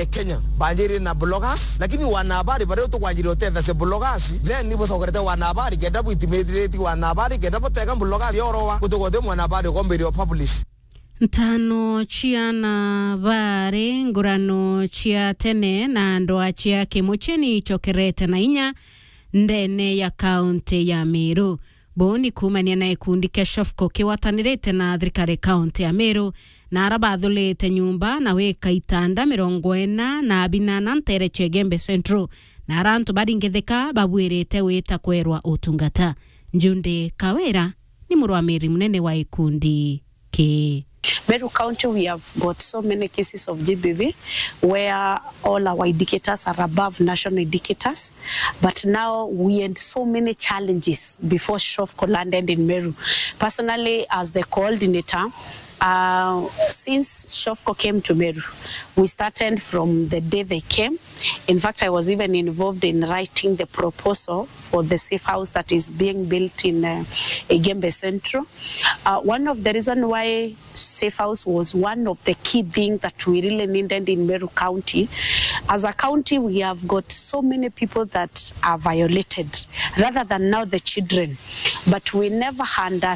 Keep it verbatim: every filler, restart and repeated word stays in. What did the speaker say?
Kenya banjiri na bloggers, lakini wanahabari baria tukwanjiri utetha cia bloggers, then ni bucokerete wanahabari kenda buintimidate wanahabari kenda butega bloggers yorowa gutugote mwanahabari ukombirio publish. Ntano cia na bari ngurano cia tene na ndwa cia kimucheni icokerete na inya ndene ya kaunti ya Meru. Buu ni kuumania na gikundi kia Shofco kigwatanirite na thirikari kaunti ya Meru, na ara bathurite nyumba na gwika itanda mirongo ina na binana ntere cia Igembe Central, na ara antu baringithika babwirite gwita kwerwa utungata. Njundi Kawira ni murwamiri munene wa gikundi kii. Meru County, we have got so many cases of G B V where all our indicators are above national indicators, but now we had so many challenges before Shofco landed in Meru. Personally, as the coordinator, uh, since Shofco came to Meru, we started from the day they came. In fact, I was even involved in writing the proposal for the safe house that is being built in uh, Igembe Central. Uh, one of the reason why safe house was one of the key things that we really needed in Meru County. As a county, we have got so many people that are violated, rather than now the children. But we never understand